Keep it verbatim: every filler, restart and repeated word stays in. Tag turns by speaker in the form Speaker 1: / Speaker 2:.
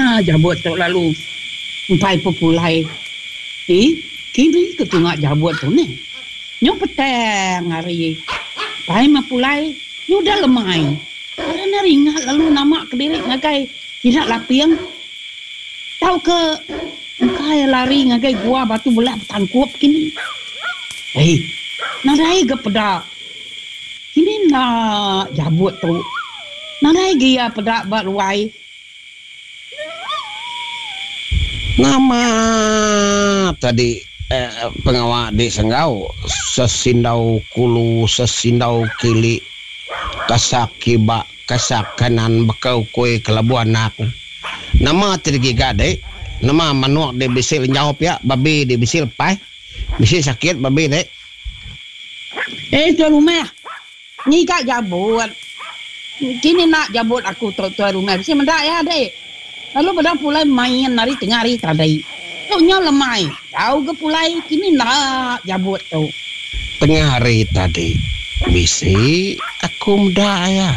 Speaker 1: Nama jabut tu lalu empai pepulai. Ih, kini ke tunga jabut tu neh. Nyu petang hari. Pai meh pulai, nyu udah lemai. Kala ne ringat lalu nama kediri ngagai sida laping tauka engka iya lari ngagai gua batu belah betangkup kini. Ei, nadai ga peda. Kini enda jabut tu. Nadai ga iya peda ba ruai.
Speaker 2: Nama tadi pengawa di Senggau sesindau kulu sesindau kili kasak kiba kasak kanan baka ukui kelabu anak. Nama ti digiga dek? Nama manuk di bisi lenyau pia babi di bisi lepai bisi sakit babi dek?
Speaker 1: Eh tuan rumah. Ngiga jabut. Kini enda jabut aku tu tuai rumah bisi meda iya deh. Lalu bedau pulai main ari tengah hari tadi. Tu nyau lemai tau ga pulai kini enda jabut tu.
Speaker 2: Tengah hari tadi bisi aku meda iya.